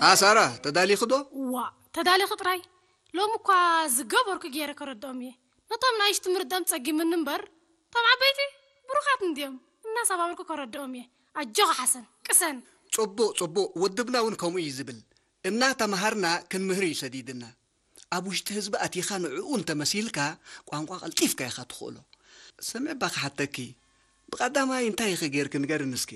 ኣሳራ፣ ተዳሊኺ ዶ? ዋ፣ ተዳሊኺ ጥራይ። ሎሚ እኳ ዝገበርኩ ገይረ ከረድኦም እየ። ነቶም ናይሽ ትምህርቶም ጸጊምኒ እምበር፣ እቶም ዓበይቲ ብሩኻት እንድዮም። እናሰባበርኩ ከረድኦም እየ። ኣጆኻ ሓሰን፣ ቅሰን። ጽቡቕ፣ ጽቡቕ። ውድብና እውን ከምኡ እዩ ዝብል። እናተምሃርና ክንምህር እዩ ሰዲድና። ኣብ ውሽጢ ህዝቢ ኣቲኻ ንዕኡ እንተመሲልካ፣ ቋንቋ ቀልጢፍካ ኢኻ ትኽእሎ። ስምዒ እባ ክሓተኪ፣ ብቐዳማይ እንታይ ኢኺ ጌርኪ ንገርኒ እስኪ?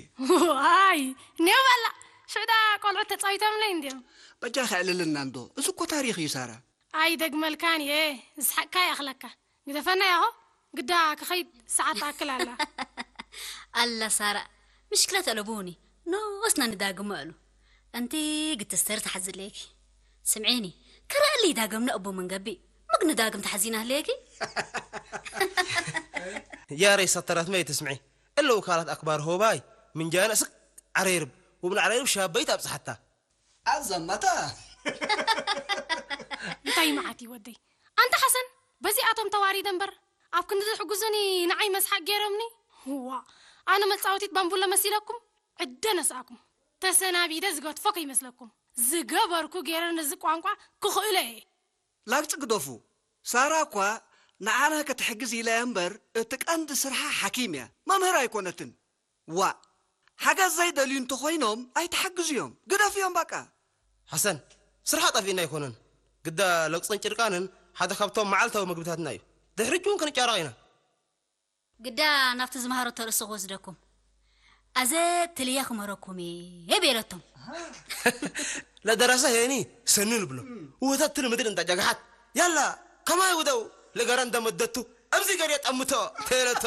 ዋይ፣ ኔው በላ። ሽዕዳ ቆልዑት ተጻዊቶምለይ እንድዮም። በጃ ከዕልልና እንዶ፣ እዚ እኮ ታሪኽ እዩ ሳራ። ኣይ ደግመልካን እየ፣ ዝስሓቅካ ይኣኽለካ። ግደፈና ያሆ፣ ግዳ ክኸይድ ሰዓት ትኣክል ኣላ። ኣላ ሳራ፣ ምሽክለ ተለቡኒ፣ ኖስና ንዳግመ ኣሉ። ኣንቲ ግትስተር ተሓዝለኪ። ስምዒኒ፣ ከረእሊ ዳግም ነእቡ መንገቢ፣ ምግ ንዳግም ተሓዚና ህለየኪ። ያሬ ሰተራት መይ ትስምዒ? እለው ካላት ኣክባር ሆባይ፣ ምንጃነ ስክ ዓሬርብ፣ ውብን ዓሬርብ ሻበይት ኣብጽሓታ። ኣዘመታ እንታይ መዓት እዩ ወደይ። ኣንታ ሓሰን፣ በዚኣቶም ተዋሪደ እምበር፣ ኣብ ክንዲ ዝሕጉዙኒ ንዓይ መስሓቅ ገይሮምኒ። ዋ፣ ኣነ መጻወቲት ባምቡለ መሲለኩም? ዕደ ነስኣኩም። ተሰናቢደ ዝገትፎ ከይመስለኩም። ዝገበርኩ ገይረ ነዚ ቋንቋ ክኽእሎ እየ። ላግጺ ግደፉ። ሳራ እኳ ንዓና ክትሕግዝ ኢላ እያ እምበር፣ እቲ ቀንዲ ስርሓ ሓኪም እያ፣ መምህር ኣይኮነትን። ዋእ፣ ሓገዝ ዘይደልዩ እንተኾይኖም ኣይትሓግዝዮም፣ ግደፍዮም በቃ። ሓሰን፣ ስርሓ ጠፊእና ኣይኮነን፣ ግዳ ለግጽን ጭርቃንን ሓደ ካብቶም መዓልታዊ ምግብታትና እዩ። ድሕሪት እውን ክንጫረቕ ኢና። ግዳ ናብቲ ዝመሃረቶ ርእሲ ክወስደኩም። ኣዘ ትልየ ክመረኩም እየ ቤለቶም። ለደረሰ ሄኒ ሰኒ ንብሎ። ውህተት ትል ምድር እንዳ ጃግሓት። ያላ ከማይ ውደው ለገረ እንደመደቱ ኣብዚ ገር የጠምቶ ተለቶ።